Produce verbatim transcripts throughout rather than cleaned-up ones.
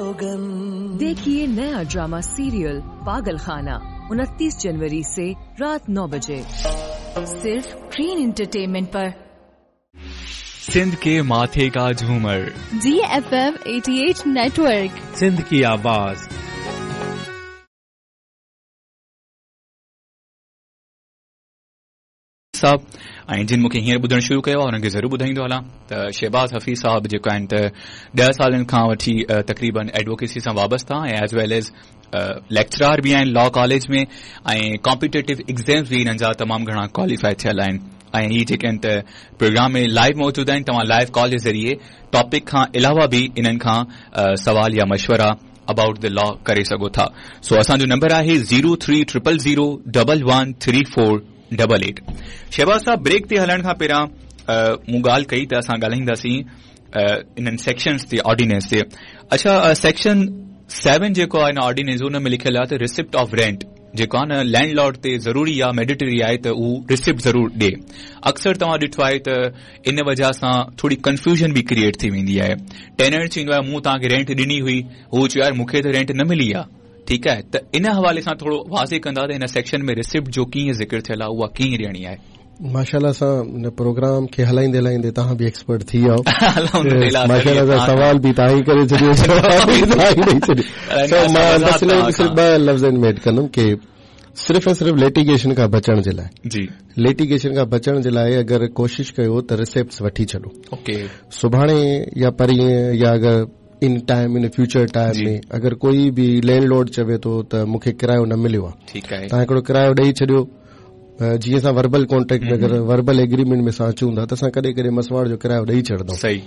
Slogan. देखिए नया drama serial पागल खाना उनतीस जनवरी से रात नौ बजे सिर्फ ग्रीन एंटरटेनमेंट पर। सिंध के माथे का झूमर, D F M अठासी नेटवर्क, सिंध की आवाज। साहब ऐं जिन मूंखे हींअर ॿुधणु शुरू कयो आहे उन्हनि खे ज़रूरु ॿुधाईंदो हलां त शहबाज़ हफ़ीज़ साहिबु जेको आहिनि त ॾह सालनि खां वठी तक़रीबन एडवोकेसी सां वाबस्ता ऐं एज वेल एज लेक्चरार बि आहिनि लॉ कॉलेज में ऐं कॉम्पिटेटिव एग्ज़ाम्स बि हिननि जा तमामु घणा क्वालिफाई थियल आहिनि ऐं हीअ जेके आहिनि त प्रोग्राम में लाइव मौजूदु आहिनि। तव्हां लाइव कॉल जे ज़रिए टॉपिक खां अलावा बि इन्हनि खां सवाल या मशवरा अबाउट the law करे सघो था। सो असांजो नंबर आहे zero three triple zero double one three four double eight. Shahbaz साहब, ब्रेक ते हलण खां पहिरियां मूं ॻाल्हि कई त असां ॻाल्हाईंदासीं इन्हनि सेक्शंस ते, ऑर्डिनेंस ते। अच्छा, सेक्शन सेवन जेको आहे ऑर्डिनेंस, उन में लिखियलु आहे त रिसिप्ट ऑफ रेंट जेको आहे न लैंडलॉर्ड ते ज़रूरी आहे, मैंडेटरी आहे त हू रिसिप्ट ज़रूरु ॾिए। अक्सर तव्हां ॾिठो आहे त इन वजह सां थोरी कन्फ्यूजन बि क्रिएट थी वेंदी आहे। टेनंट चवंदो आहे मूं तव्हांखे रेंट ॾिनी हुई, हू चयो यार मूंखे त रेंट न मिली आहे। ठीकु आहे, त इन हवाले सां थोरो वाज़े कंदा त हिन सेक्शन में रिसिप्ट जो कीअं ज़िक्र थियल आहे, उहा कीअं ॾियणी आहे। माशाअल्लाह सां हिन प्रोग्राम खे हलाईंदे हलाईंदे तव्हां बि एक्सपर्ट थी विया आहियो। माशाअल्लाह सां सवाल बि तव्हां ई करे छॾियो, जवाब बि तव्हां ई ॾेई छॾियो। सो मां बसि सिर्फ़ ॿ लफ़्ज़नि में एड कंदुमि की सिर्फ़ ऐं सिर्फ़ लिटिगेशन खां बचण जे लाइ, जी लिटिगेशन खां बचण जे लाइ अगरि कोशिशि कयो त रिसिप्ट्स वठी छॾो। ओके, सुभाणे या परींअ या अगरि in time in future time में अगरि कोई बि लैंडलॉर्ड चवे थो त मूंखे किरायो न मिलियो आहे, ठीकु आहे, तव्हां हिकिड़ो किरायो ॾेई छॾियो। जीअं असां वर्बल कॉन्ट्रैक्ट में अगरि वर्बल एग्रीमेंट में असां अचूं था त असां कॾहिं कॾहिं मसवाड़ जो किरायो ॾेई छॾंदा। सही,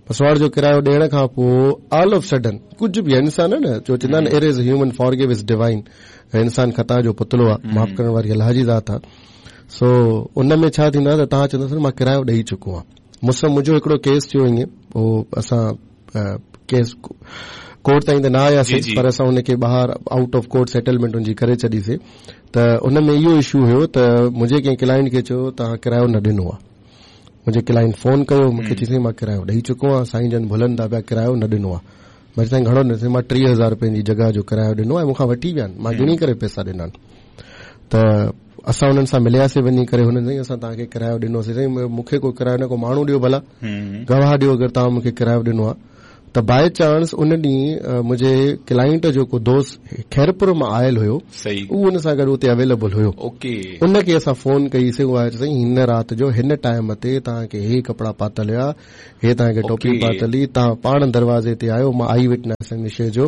मसवाड़ जो किरायो ॾियण खां पोइ ऑल ऑफ सडन कुझु बि इंसान आहे न, जो चवंदा आहिनि error is human, forgive is divine, इंसान ख़ता जो पुतिलो आहे, माफ़ करण वारी अलाह जी ज़ात आहे। सो उन में छा थींदो आहे त तव्हां चवंदा مان किरायो ॾेई चुको आहियां। मूंसां मुंहिंजो हिकिड़ो केस थियो ईअं, पोइ असां केस कोर्ट ताईं त न आयासीं पर असां हुनखे ॿाहिरि आउट ऑफ कोर्ट सेटलमेंट हुनजी करे छॾीसीं। त उन में इहो इशू हुयो त मुंहिंजे कंहिं क्लाइंट खे चयो तव्हां किरायो न ॾिनो आहे। मुंहिंजे क्लाइंट फोन कयो मूंखे चई साईं मां किरायो ॾेई चुको आहियां, साईं जन भुलनि था पिया किरायो न ॾिनो आहे। मां साईं घणो ॾिनो? मां टीह हज़ार रुपयनि जी जॻह जो किरायो ॾिनो ऐं मूंखां वठी विया आहिनि, मां गिणी करे पैसा ॾिना आहिनि। त असां हुननि सां मिलियासीं वञी करे, हुननि साईं असां तव्हांखे किरायो ॾिनोसीं, साईं मूंखे को किरायो न, को माण्हू ॾियो भला गवाह ॾियो अगरि तव्हां मूंखे किरायो ॾिनो आहे। त बाय चांस उन ॾींहुं मुंहिंजे क्लाइंट जो को दोस्त खैरपुर मां आयल हुयो, उहो हुन सां गॾु उते अवेलेबल हुयो। ओके, उनखे असां फोन कईसीं, उहो आयो साईं हिन राति जो हिन टाइम ते तव्हांखे हे कपिड़ा पातल हुया, हे तव्हांखे टोपी पातल हुई, तव्हां पाण दरवाज़े ते आयो, मां आई विटनेस हिन शइ जो।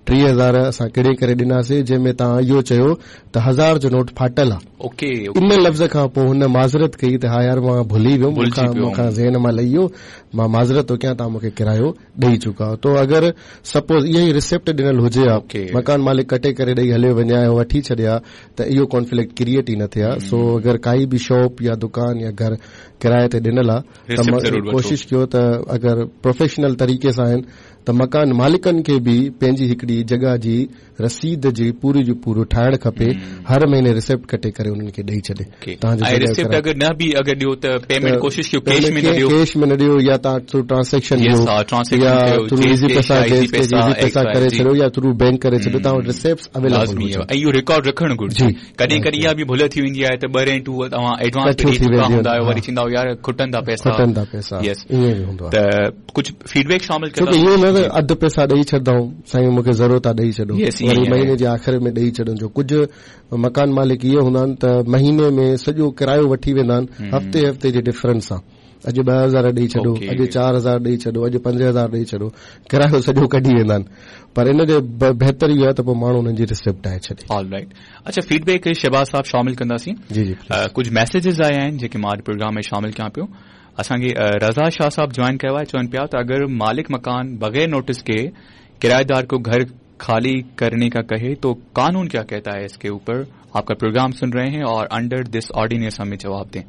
टीह हज़ार असां किड़े करे ॾिनासीं, जंहिंमें तव्हां इहो चयो त हज़ार जो नोट फाटल आहे। ओके, इन लफ़्ज़ खां पोइ हुन माज़रत कई त हा यार मां भुली वियुमि, मूंखां ज़हन मां लही वियो, मां माज़रत थो कयां, तव्हां मूंखे किरायो ॾेई चुका। तो अगरि सपोज़ इहा ई रिसिप्ट ॾिनल हुजे हा, मकान मालिक कटे करे ॾेई हलियो वञे हा, वठी छॾे हा, त इहो कॉन्फ्लिक्ट क्रिएट ई न थिए हा। सो अगरि काई बि शॉप या दुकान या घर किराए ते ॾिनल आहे त कोशिशि कयो त अगरि प्रोफेशनल तरीक़े सां आहिनि त मकान मालिकनि खे बि पंहिंजी हिकिड़ी जॻह जी रसीद जी पूरी जो पूरो ठाहिणु खपे, हर महीने रिसिप्ट कटे करे उन्हनि खे ॾेई छॾे। तव्हांजो रिसिप्ट अगरि न बि अगरि ॾियो त पेमेंट कोशिशि कयो कैश में न ॾियो, कैश में न ॾियो, या तव्हां थ्रू ट्रांज़ैक्शन ॾियो, या थ्रू इजी पैसा इजी पैसा करे छॾियो, या थ्रू बैंक करे छॾियो, तव्हां वटि रिसिप्ट्स अवेलेबल हुजनि। ऐं इहो रिकॉर्ड रखणु घुरिजे। कॾहिं कॾहिं इहा बि भुल थी वेंदी आहे त ॿ रेंटूं तव्हां एडवांस ॾेई चुका हूंदा आहियो, वरी चवंदा आहियो यार खुटनि था पैसा, खुटनि था पैसा, ईअं बि हूंदो आहे। त कुझु फीडबैक शामिल कंदा, ईअं न त अधु पैसा ॾेई छॾंदा साईं मूंखे ज़रूरत आहे ॾेई छॾो, वरी महीने जे आख़िर में ॾेई छॾनि। जो कुझु मकान मालिक इहे हूंदा आहिनि त महीने में सॼो किरायो वठी वेंदा आहिनि, हफ़्ते हफ़्ते जे डिफरेंस सां, अॼु ॿ हज़ार ॾेई छॾो, अॼु चारि हज़ार ॾेई छॾो, अॼु पंज हज़ार ॾेई छॾो, किरायो सॼो कढी वेंदा आहिनि। पर इन जे बहितर इहो आहे त पोइ माण्हू हुननि जी रिसिप्ट ठाहे छॾे। ऑलराइट, अच्छा फीडबैक शहबाज़ साहब शामिल कंदासीं। जी जी, कुझु मैसेजेस आया आहिनि जेके मां अॼु प्रोग्राम में शामिल कयां पियो। असांखे रज़ा शाह साहब जॉइन कयो आहे, चवनि पिया त अगरि मालिक मकान बग़ैर नोटिस के किराएदार को घर खाली करने का कहे तो कानून क्या कहता है इसके ऊपर? आपका प्रोग्राम सुन रहे हैं और अंडर this ordinance हमें जवाब दें।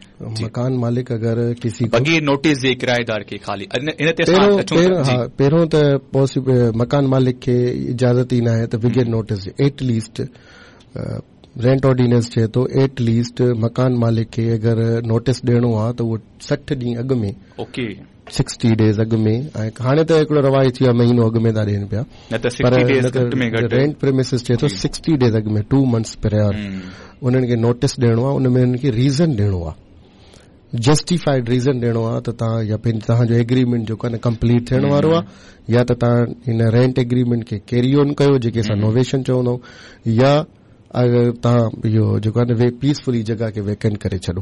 मकान मालिक अगर किसी बगैर नोटिस जे किराएदार के खाली पहिरियों त पॉसिबल मकान मालिक खे इजाज़त ई न आहे त बगैर नोटिस जे एटलीस्ट रेंट ऑर्डिनेंस चए थो एटलीस्ट मकान मालिक खे अगरि नोटिस ॾियणो आहे त उहो सठि ॾींहं अॻु में ओके सिक्सटी डेज़ अॻु में, ऐं हाणे त हिकिड़ो रवाज थी वियो आहे महीनो अॻु में था ॾियनि पिया, पर रेंट प्रेमिसिस चए थो सिक्सटी डेज़ अॻु में, टू मंथ्स प्रायर उन्हनि खे नोटिस ॾियणो आहे, उन में उन्हनि खे रीज़न ॾियणो आहे, जस्टिफाइड रीज़न ॾियणो आहे त तव्हां या पंहिंजो तव्हांजो एग्रीमेंट जेको आहे न कंप्लीट थियण वारो आहे, या त तव्हां हिन रेंट एग्रीमेंट खे कैरी ऑन कयो जेके असां नोवेशन चवंदा आहियूं, या अगरि तव्हां इहो जेको आहे न पीसफुली जॻह खे वेकेंट करे छॾो।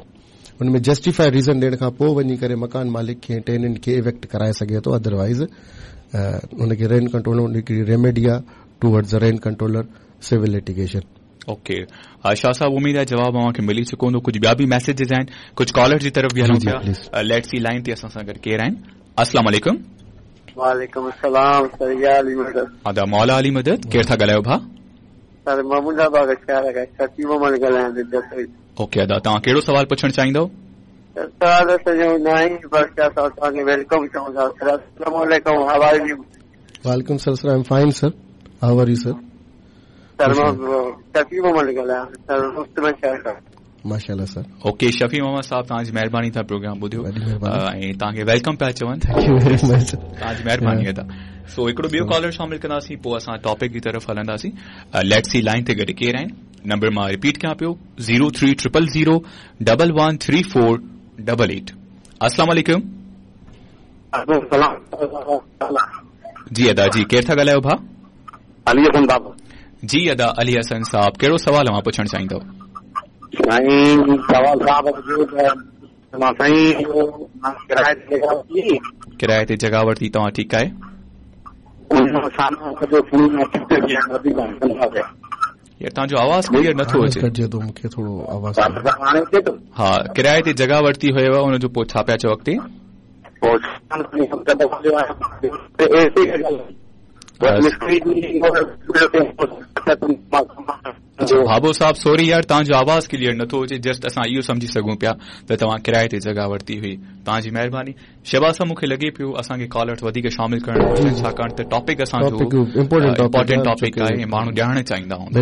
उन में जस्टिफाइड रीज़न ॾियण खां पोइ वञी करे मकान मालिक खे टेनेंट खे इवेक्ट कराए सघे थो, अदरवाइज़ हुनखे रेंट कंट्रोल हिकिड़ी रेमेडी आहे towards rent controller civil litigation. Okay Shah साहब, उम्मीद आहे जवाब अव्हां मिली चुको हूंदो। कुझु ॿिया बि मैसेजेस आहिनि, कुझु कॉलर जी तरफ़ बि हलूं पिया। Let's see line ते असां सां गॾु केरु आहिनि। अस्सलाम वालेकुम। वालेकुम अस्सलाम सर, या अली मदद। अदा मौला अली मदद, केरु था ॻाल्हायो भाउ? सर मां बाग शहर खां शफी मोहम्मद ॻाल्हायां थो। ओके अदा, तव्हां कहिड़ो सवाल पुछणु चाहींदव? सवाल सॼो न आहे, बसि तव्हांखे welcome चऊं था सर। अस्सलाम वालेकुम, how are you? वालेकुम sir, sir I am fine sir, how are you sir? Sir मां शफी मोहम्मद ॻाल्हायां सर, मुफ़्त में शहर खां। माशाअल्लाह सर। ओके शफी मोहम्मद साहब, तव्हांजी महिरबानी, तव्हां प्रोग्राम ॿुधियो ऐं तव्हांखे welcome पिया चवनि। Thank you very much, तव्हांजी महिरबानी अदा। सो हिकिड़ो ॿियो कॉलर शामिल कंदासीं, पोइ असां टॉपिक जी तरफ़ हलंदासीं। Let's see line ते गॾु केरु आहिनि। नंबर मां रिपीट कयां पियो, zero three triple zero double one three four double eight. अस्सलाम वालेकुम। जी अदा जी, केरु था ॻाल्हायो भाउ? अली हसन साहब। जी अदा अली हसन साहब, कहिड़ो सवाल अव्हां पुछणु चाहींदव? साईं सवाल साहब मां साईं किराए ते जॻह वरिती, किराए ते जॻह वरिती तव्हां, ठीकु आहे। यार तव्हांजो आवाज़ क्लियर नथो अचे। कटिजे थो मूंखे थोरो आवाज़। हा, किराए ते जॻह वरिती हुयव, उनजो पोइ छा पिया चओ अॻिते? भाबो साहब सॉरी यार, तव्हांजो आवाज़ क्लियर नथो अचे, जस्ट असां इहो सम्झी सघूं पिया त तव्हां किराए ते जॻह वरिती हुई। तव्हांजी महिरबानी। शहबाज साहब, मूंखे लॻे पियो असांखे कॉलर्स वधीक शामिल करणु घुरिजे, छाकाणि त टॉपिक असांजो इम्पोर्टेंट टॉपिक आहे ऐं माण्हू ॼाणणु चाहींदा हूंदा,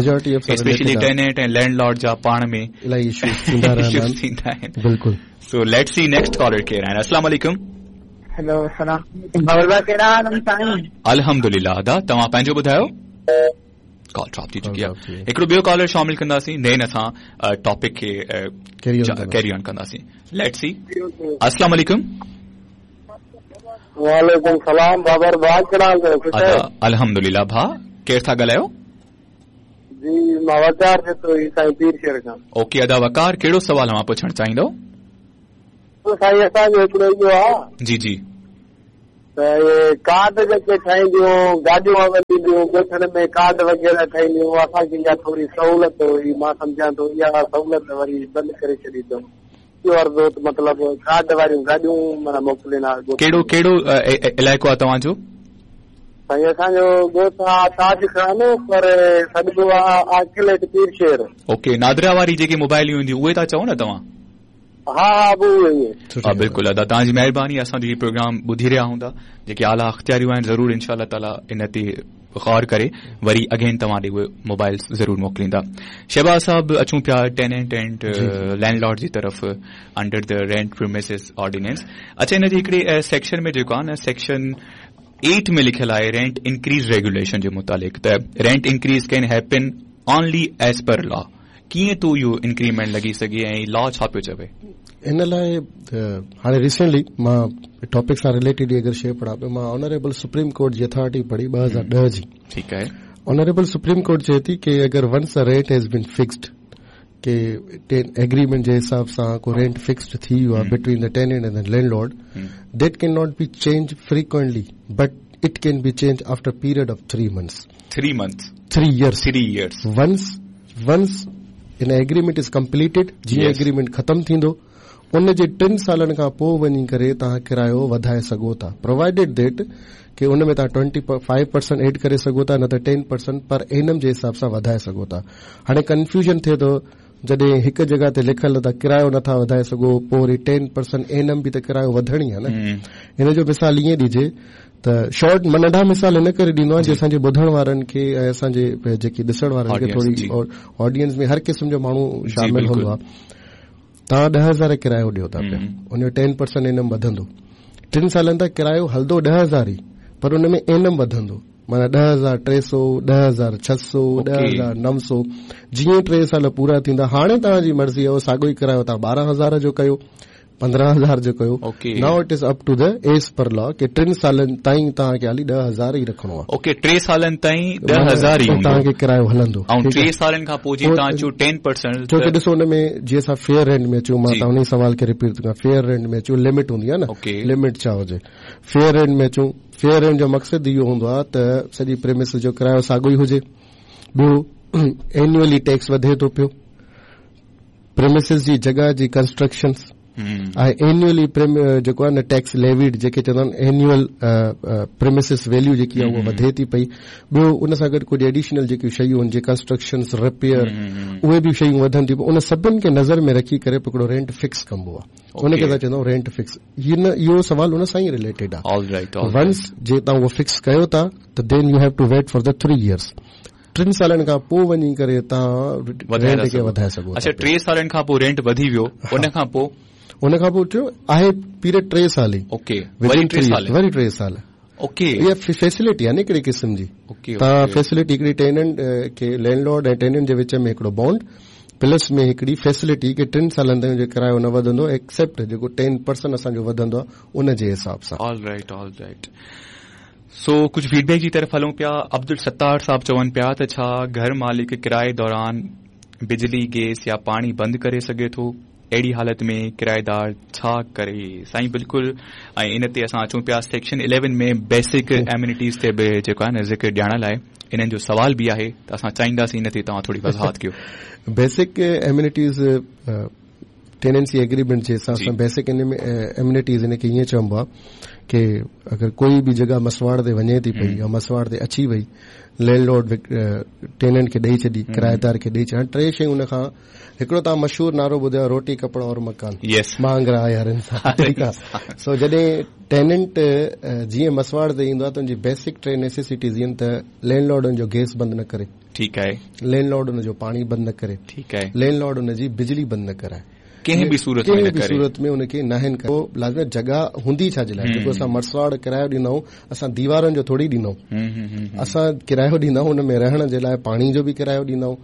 स्पेशली टेनेंट ऐं लैंडलॉर्ड जा पाण में इलाही इश्यूज़ थींदा आहिनि। बिल्कुलु। सो let's see next collar केरु आहिनि। अस्सलाम वालेकुम। हेलो सलाम, अल्हम्दुलिल्लाह। अदा तव्हां पंहिंजो ॿुधायो। कॉल ड्रॉप थी चुकी आहे। हिकिड़ो ॿियो कॉलर शामिल कंदासीं, then असां टॉपिक खे कैरी ऑन कंदासीं। Let's see. अस्सलाम वालेकुम। वालेकुम सलाम बाबर भाउ, कहिड़ा हाल अथव? अल्हम्दुलिल्लाह। भाउ केरु था ॻाल्हायो? जी मां वकार जो साईं पीर शहर खां। ओके अदा वकार, कहिड़ो सवाल अव्हां पुछणु चाहींदव? साईं असांजो हिकिड़ो इहो आहे। जी जी। त इहे कार्ड जेके ठाहींदियूं, गाॾियूं हलंदियूं ॻोठनि में, कार्ड वग़ैरह ठाहींदियूं, असांखे इहा थोरी सहूलियत हुई, मां सम्झां थो इहा सहूलियत वरी बंदि करे छॾी अथऊं। इहो अर्ज़ो त मतिलबु कार्ड वारियूं गाॾियूं माना मोकिलींदा। कहिड़ो कहिड़ो इलाइक़ो आहे तव्हांजो? साईं असांजो ॻोठु आहे ताज खान, पर सॾिबो आहे आकिलेट पीर शहर। ओके, नादरा वारी जेके मोबाइलियूं ईंदियूं उहे था चओ न तव्हां? हा हा, उहे। हा बिल्कुलु अदा, तव्हांजी महिरबानी। असांजो हीउ प्रोग्राम ॿुधी रहिया हूंदा, जेके आला अख़्तियारियूं आहिनि ज़रूरु इंशा ताला इन ते ग़ौर करे वरी अगेन तव्हां ॾे उहे मोबाइल ज़रूरु मोकिलींदा। शहबाज साहब, अचूं पिया टेनेंट एंड लैंडलॉर्ड जी तरफ़ under the rent premises ordinance. अच्छा, इन जे हिकिड़े सेक्शन में जेको आहे न, सेक्शन एट में लिखियलु आहे रेंट इंक्रीज रेगुलेशन जे मुतालिक़, त rent increase can happen only as per law. कीअं थो इहो इंक्रीमेंट लॻी सघे ऐं लॉ छा पियो चवे? इन लाइ हाणे रिसेंटली मां टॉपिक सां रिलेटेड अगरि शइ पढ़ां पियो, मां ऑनरेबल सुप्रीम कोर्ट जी अथॉरिटी पढ़ी ॿ हज़ार ॾह जी। ठीकु आहे। ऑनरेबल सुप्रीम कोर्ट चए थी की अगरि once the rent has been fixed, की एग्रीमेंट जे हिसाब सां को रेंट फिक्स्ड थी वियो आहे between the tenant and the landlord, that can not be change frequently but it can be change after period of three months. Three months? Three years. Three years. Once once in agreement is completed, जीअं agreement ख़तमु थींदो उन जे टिनि सालनि खां पोइ वञी करे तव्हां किरायो वधाए सघो था, प्रोवाइडेड that की उन में तव्हां ट्वेंटी फाइव परसेंट एड करे सघो था, न त टेन परसेंट पर एनम जे हिसाब सां वधाए सघो था। हाणे कन्फ्यूजन थिए थो जॾहिं हिकु जॻह ते लिखियलु त किरायो नथा वधाए सघो, पोइ वरी टेन परसेंट एनम बि त किरायो वधणी आहे न। हिन जो मिसाल ईअं ॾिजे त शॉर्ट मां नंढा मिसाल हिन करे ॾींदो आहियां, असांजे ॿुधण वारनि खे ऐं असांजे जेके ॾिसण वारनि खे थोरी ऑडियंस में हर क़िस्म जो माण्हू शामिल हूंदो आहे। तव्हां ॾह हज़ार किरायो ॾियो था पिया, उनजो टेन परसेंट इनम वधंदो, टिनि सालनि ताईं किरायो हलंदो ॾह हज़ार ई, पर उन में एनम वधंदो, माना ॾह हज़ार टे सौ, ॾह हज़ार छह सौ, ॾह हज़ार नव सौ। जीअं टे साल पूरा थींदा, हाणे तव्हांजी मर्ज़ी आहे, साॻियो ई किरायो तव्हां ॿारहं हज़ार जो कयो, पंद्रहं हज़ार जो कयो। Now it is up to the as per law की टिनि सालनि ताईं तव्हांखे हाली ॾह हज़ार ई रखिणो आहे। ओके, टे सालनि ताईं ॾह हज़ार ई तव्हांखे किरायो हलंदो। ऐं टे सालनि खां पोइ जीअं तव्हां चयो टेन परसेंट, छो की ॾिसो हुन में जीअं असां फेयर रेंट में अचूं, मां तव्हां उन सवाल खे रिपीट थो कयां, फेयर रेंट में अचूं, लिमिट हूंदी आहे न, लिमिट छा हुजे। फेयर रेंट में अचूं, फेयर रेंट जो मक़सदु इहो हूंदो आहे त सॼी प्रेमिस जो किरायो साॻियो ई हुजे। ॿियो एनुअली टैक्स वधे थो पियो, प्रेमिसिस जी जॻह जी कंस्ट्रक्शन ऐं एनुअली जेको आहे न टैक्स लेवीड जेके चवंदा आहिनि एनुअल प्रेमिसिस वैल्यू जेकी आहे उहा वधे थी पई। ॿियो उन सां गॾु कुझु एडिशनल जेकियूं शयूं आहिनि, जीअं कंस्ट्रक्शन, रिपेयर, उहे बि शयूं वधनि थियूं। उन सभिनि खे नज़र में रखी करे हिकिड़ो रेंट फिक्स कबो आहे, उनखे असां चवंदा आहियूं रेंट फिक्स। हिन इहो सवाल उन सां ई रिलेटेड आहे। वंस जे तव्हां उहो फिक्स कयो था त then you have to wait for the three years, टिनि सालनि खां पोइ वञी करे तव्हां रेंट खे वधाए सघो। अच्छा, टे सालनि खां पोइ रेंट वधी वियो, उन खां पोइ उन खां पोइ थियो आहे पीरियड टे साल ई। ओके, वरी टे साल, वरी टे साल। ओके, इहा फैसिलिटी आहे न हिकिड़ी क़िस्म जी। तव्हां फैसिलिटी हिकिड़ी टेनेंट खे, लैंडलॉर्ड ऐं टेनेंट जे विच में हिकिड़ो बॉन्ड प्लस में हिकिड़ी फैसिलिटी की टिनि सालनि ताईं किरायो न वधंदो, एक्सेप्ट जेको टेन परसेंट असांजो वधंदो आहे उन जे हिसाब सां। All right, all right. सो कुझु फीडबैक जी तरफ़ हलूं पिया। अब्दुल सत्तार साहब चवनि पिया त छा घर मालिक किराए दौरान बिजली, गैस या पाणी बंदि करे सघे थो? अहिड़ी हालत में किराएदार छा करे? साईं बिल्कुलु। ऐं इन ते असां अचूं पिया सेक्शन इलेवन में बेसिक एम्यूनिटीज़ ते बि जेको आहे न ज़िक्र ॾियण लाइ इन्हनि जो सवाल बि आहे, त असां चाहींदासीं इन ते तव्हां थोरी वज़ाहत कयो। बेसिक एम्यूनिटीज़ टेनेंसी एग्रीमेंट जे हिसाब सां बेसिक एम्यूनिटीज़ हिन खे ईअं चइबो आहे की अगरि कोई बि जॻह मसवाड़ ते वञे थी पई या मसवाड़ ते अची वई, लैंडलॉर्ड टेनेंट खे ॾेई छॾी, किराएदार खे ॾेई छॾी। टे शयूं हुन खां, हिकिड़ो तव्हां मशहूर नारो ॿुधायो, रोटी कपिड़ो और मकान, महांगरा आहे हर इंसान, ठीकु आहे। सो जॾहिं टेनेंट जीअं मसवाड़ ते ईंदो आहे त हुनजी बेसिक टे नेसेसिटीज़ आहिनि त लैंडलॉर्ड हुनजो गैस बंदि न करे, ठीकु आहे, लैंडलॉर्ड हुनजो पाणी बंदि न करे, ठीकु आहे, लैंडलॉर्ड हुनजी बिजली बंदि न कराए, कंहिं बि सूरत में बि सूरत में उनखे नाहिनि करे। लाज़मी जॻह हूंदी छा जे लाइ, जेको असां मसवाड़ किरायो ॾींदा आहियूं, असां दीवारनि जो थोरी ॾींदा आहियूं, असां किरायो ॾींदा आहियूं हुन में रहण जे लाइ पाणी जो बि किरायो ॾींदा आहियूं,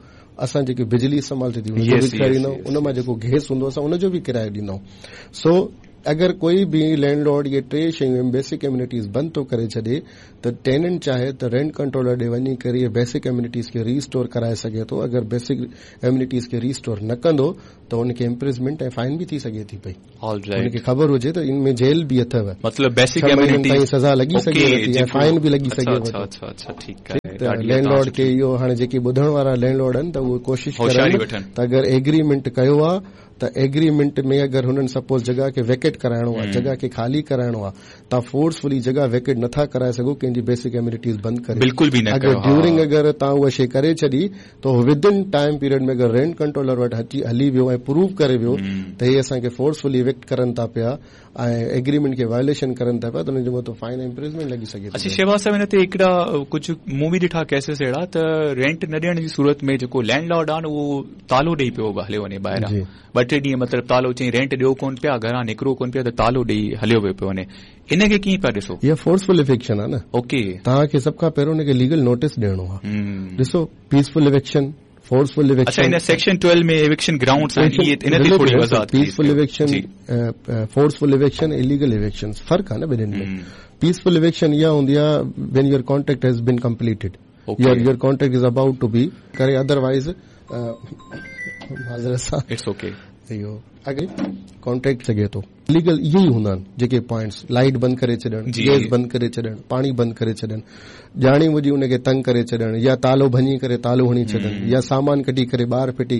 असां जेकी बिजली इस्तेमालु थिए थी उनजो बि किरायो ॾींदा आहियूं, उन मां जेको गैस हूंदो असां उनजो बि किरायो ॾींदा आहियूं। सो अगरि कोई बि लैंडलॉर्ड इहे टे शयूं बेसिक एम्यूनिटीज़ बंदि थो करे छॾे त टेनेंट चाहे त रेंट कंट्रोलर ॾे वञी करे इहे बेसिक एम्यूनिटीज़ खे रीस्टोर कराए सघे थो। अगरि बेसिक एम्यूनिटीज़ खे रीस्टोर न कंदो त हुनखे इम्प्रिजमेंट ऐं फाइन बि थी सघे थी पई। हुनखे ख़बर हुजे त इन में जेल बि अथव, मतिलबु बेसिक एम्यूनिटीज़ सज़ा लॻी सघे थी ऐं फाइन बि लॻी सघे थी। त लैंडलॉर्ड खे इहो हाणे जेके ॿुधण वारा लैंडलॉर्ड आहिनि त उहे कोशिशि कनि त अगरि एग्रीमेंट कयो आहे त एग्रीमेंट में अगरि हुननि सपोज़ जॻह खे वेकेट कराइणो आहे, जॻह खे ख़ाली कराइणो आहे, तव्हां फोर्सफुली जॻह वेकेट नथा कराए सघो, कंहिंजी बेसिक एम्यूनिटीज़ बंदि करे बिल्कुलु बि न। अगरि ड्यूरिंग अगरि तव्हां उहा शइ करे छॾी त विद इन टाइम पीरियड में अगरि रेंट कंट्रोलर वटि अची हली वियो ऐं प्रूव करे वियो त हे असांखे फोर्सफुली इविक्ट करनि था पिया ऐं एग्रीमेंट खे वायोलेशन करनि था पिया त हुनजो मथां फाइन ऐं इम्प्रिजमेंट लॻी सघे थी। अच्छा शहबाज़ साहिब, हिन ते हिकिड़ा कुझु मूं बि ॾिठा केसिस अहिड़ा त रेंट न ॾियण जी सूरत में जेको लैंडलॉर्ड आहे न उहो तालो ॾेई पियो हलियो वञे ॿाहिरां, ॿ टे ॾींहं मतिलबु तालो चई रेंट ॾियो कोन पिया, घरां निकिरो कोन पिया त तालो ॾेई हलियो वियो पियो वञे, इन खे कीअं पिया ॾिसो? इहा फोर्सफुल इविक्शन आहे न। ओके, तव्हांखे सभ खां पहिरियों हुनखे लीगल नोटिस ॾियणो आहे। ॾिसो पीसफुल इविक्शन, फोर्सफुल इविक्शन। अच्छा, इन सेक्शन ट्वेल्व में इविक्शन ग्राउंड्स आहिनि, इहे इन ते थोरी वज़ाहत। Peaceful eviction, forceful eviction, illegal eviction, फ़र्क़ु आहे न ॿिन्हिनि में। पीसफुल इविक्शन इहा हूंदी आहे when your contract has been completed, your your contract is about to be करे, अदरवाइज़ माज़रत सां it's okay, इहो अॻे कॉन्ट्रैक्ट सघे थो। लीगल इहे ई हूंदा आहिनि जेके पॉइंट्स, लाइट बंदि करे छॾणु, गैस बंदि करे छॾणु, पाणी बंदि करे छॾणु, ॼाणी ॿुझी उनखे तंग करे छॾणु, या तालो भञी करे तालो हणी छॾणु, या सामान कढी करे ॿाहिरि फिटी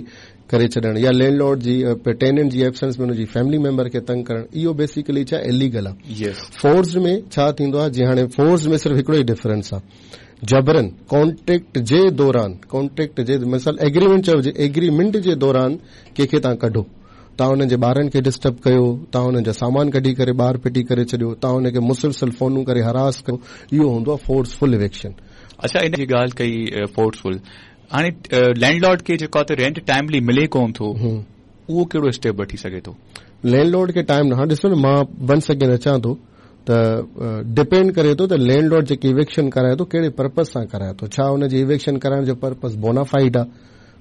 करे छॾणु, या लैंडलॉर्ड जी टेनेंट जी एबसेंस में हुनजी फैमिली मेंबर खे तंग करणु, इहो बेसिकली छा इलीगल आहे। फोर्स में छा थींदो आहे, जीअं हाणे फोर्स में सिर्फ़ु हिकिड़ो ई डिफरेंस आहे, जबरन कॉन्ट्रैक्ट जे दौरान, कॉन्ट्रैक्ट जे मिसाल एग्रीमेंट चइजे, एग्रीमेंट जे दौरान कंहिंखे तव्हां कढो, तव्हां हुननि जे ॿारनि खे डिस्टर्ब कयो, तव्हां हुननि जा सामान कढी करे ॿाहिरि फिटी करे छॾियो, तव्हां हुनखे मुसलसल फोनूं करे हरास कयो, इहो हूंदो आहे फोर्सफुल इविक्शन। अच्छा, इन जी ॻाल्हि कई फोर्सफुल, हाणे लैंडलॉर्ड खे जेको आहे त रेंट टाइमली मिले कोन थो, उहो कहिड़ो स्टेप वठी सघे थो? लैंडलॉर्ड खे टाइम न, हाणे ॾिसो न, मां वन सेकेंड अचां थो ته ڊپينڊ ڪري ٿو ته لينڊ لارڊ جيڪي ايوڪشن ڪرائي ٿو ڪهڙي پرپز سان ڪرائي ٿو. ڇا ان جي ايوڪشن ڪرائڻ جو پرپز بونافائيڊ آهي،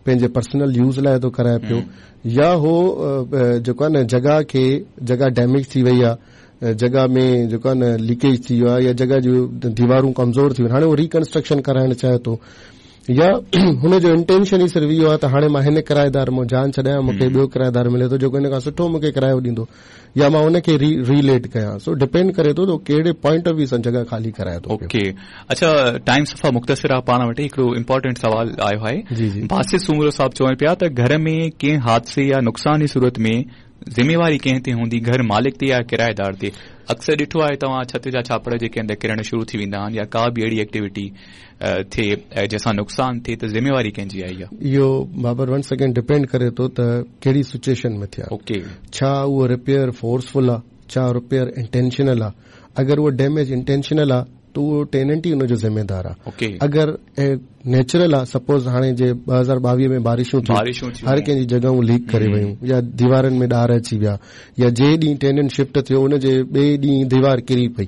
پنهنجي پرسنل يوز لاءِ ٿو ڪرائي پيو، يا هو جيڪو آهي نه جڳهه کي جڳهه ڊيميج ٿي وئي آهي، جڳهه ۾ جيڪو آهي نه ليڪيج ٿي ويو آهي يا جڳهه جون ديوارون ڪمزور ٿي ويون، هاڻي هو ريڪنسٽرڪشن ڪرائڻ چاهي ٿو، يا هن جو انٽينشن ئي صرف اهو آهي ته هاڻي مان هن ڪرائيدار مان جان ڇڏايان، مون کي ٻيو ڪرائيدار ملي ٿو جيڪو هن کان سٺو مون کي ڪرايو ڏيندو، يا مان ان کي ريليٽ ڪيان. سو ڊپينڊ ڪري ٿو ته ڪهڙي پوائنٽ آف ويو سان جڳهه خالي ڪرائي ٿو. اوڪي، اڇا ٽائيم صفا مختصر آهي پاڻ وٽ، هڪڙو امپورٽنٽ سوال آيو آهي. جي جي باسط سومرو صاحب چون پيا ته گهر ۾ ڪنهن حادثي يا نقصان جي صورت ۾ ذميواري ڪنهن تي هوندي، گهر مالڪ تي يا ڪرائيدار تي؟ اڪثر ڏٺو آهي توهان ڇت جا ڇاپڙ جيڪي اندر ڪرڻ شروع ٿي ويندا آهن يا ڪا به اهڙي ايڪٽيوٽي ٿئي جنهن سان نقصان ٿئي ته ذميواري ڪنهن جي آئي آهي؟ اهو بابر ونس اگين ڊپينڊ ڪري ٿو ته ڪهڙي سچوئيشن ۾ ٿيا. اوڪي، ڇا اهو رپيئر فورسفل آهي، ڇا رپيئر انٽينشنل آهي؟ اگر اهو ڊيميج انٽينشنل آهي ته اهو ٽيننٽ ئي ان جو ذميدار آهي. اوڪي، اگر نيچرل آهي، سپوز هاڻي جي ٻه هزار ٻاويهه ۾ بارشون ٿيون، بارشون ٿيون، هر ڪنهن جي جڳهون ليڪ ڪري ويون يا ديوارن ۾ ڏار اچي ويا، يا جنهن ڏينهن ٽيننٽ شفٽ ٿيو ان جي ٻئي ڏينهن ديوار ڪري پئي،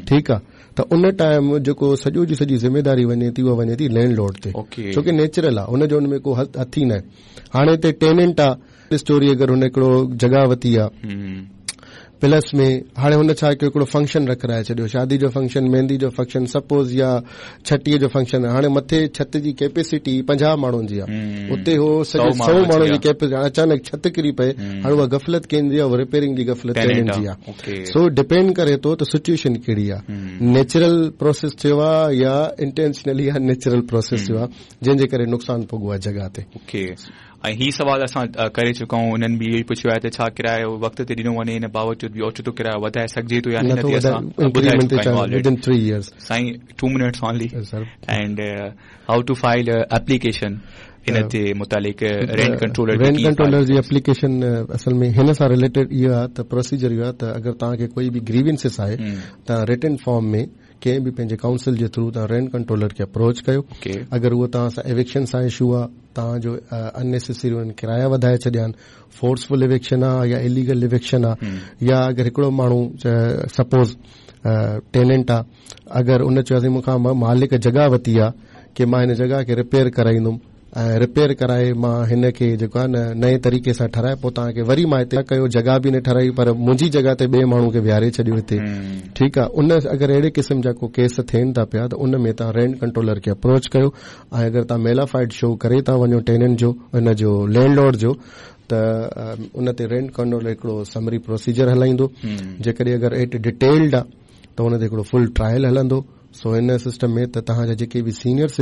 ٺيڪ آهي، ته ان ٽائيم جيڪو سڄو جي سڄي ذميداري وڃي ٿي اها وڃي ٿي لينڊ لارڊ تي، ڇو ڪه نيچرل آهي، ان جو ان ۾ ڪو هٿ ئي نه آهي. هاڻي هتي ٽيننٽ آهي اسٽوري، اگر هن هڪڙو جڳهه ورتي آهي پلس ۾ هاڻي هن ڇا ڪيو، هڪڙو فنڪشن رکرائي ڇڏيو، شادي جو فنڪشن، مهندي جو فنڪشن سپوز، يا ڇٽيءَ جو فنڪشن. هاڻي مٿي ڇت جي ڪيپيسٽي پنجاهه ماڻهن جي آهي، اتي هو سڄي سؤ ماڻهن جي ڪيپيسٽي، اچانڪ ڇت ڪري پئي، هاڻي اها غفلت ڪنهن جي آهي؟ رپيئرنگ جي غفلت ٽيننٽ جي آهي. سو ڊپينڊ ڪري ٿو ته سچوئيشن ڪهڙي آهي، نيچرل پروسيس ٿيو آهي يا انٽينشنلي يا نيچرل پروسيس ٿيو آهي جنهن جي ڪري نقصان پڳو آهي جڳهه تي. اوڪي، ۽ هي سوال اسان ڪري چڪا آهيون، انهن به اهو ئي پڇيو آهي ته ڇا ڪرايو وقت تي ڏنو وڃي ان باوجود به اوچتو ڪرايو وڌائي سگهجي ٿو يا نه؟ تي اسان ٻڌائي چڪا آهيون آلريڊي. سائين two minutes only, and how to file application ان تي متعلق رينٽ ڪنٽرولر؟ رينٽ ڪنٽرولر جي ايپليڪيشن اصل ۾ هن سان رليٽيڊ اهو آهي ته پروسيجر اهو آهي ته اگر توهان کي ڪوئي به گريوينسز آهي ته رٽن فارم ۾ ڪنهن به پنهنجي ڪائونسل جي ٿرو توهان رينٽ ڪنٽرولر کي اپروچ ڪيو. اگر اهو توهان سان ايوڪشن سان اشو آهي، توهان جو اننيسيسري انهن ڪرايا وڌائي ڇڏيا آهن، فورسفل ايوڪشن آهي يا اليگل ايوڪشن آهي، يا اگر هڪڙو ماڻهو سپوز ٽيننٽ آهي، اگر ان چيو مون کان مالڪ جڳهه ورتي آهي ڪه مان هن جڳهه کي رپيئر ڪرائيندم ۽ رپيئر ڪرائي مان هن کي جيڪو آهي نه نئين طريقي سان ٺهرائي پوءِ توهان کي وري مان هتي ڪيو، جڳهه به نه ٺهرائي پر منهنجي جڳهه تي ٻئي ماڻهو کي ويهاري ڇڏيو هتي، ٺيڪ آهي، ان اگر اهڙي قسم جا ڪو ڪيس ٿين ٿا پيا ته ان ۾ توهان رينٽ ڪنٽرولر کي اپروچ ڪيو ۽ اگر توهان ميلافائيڊ شو ڪري ٿا وڃو ٽيننٽ جو ان جو لينڊ لارڊ جو، ته ان تي رينٽ ڪنٽرولر هڪڙو سمري پروسيجر هلائيندو. جيڪڏهن اگر ايٽ ڊيٽيلڊ آهي ته ان تي هڪڙو فل ٽرائل هلندو. سو هن سسٽم ۾ ته توهان جا جيڪي به سينيئر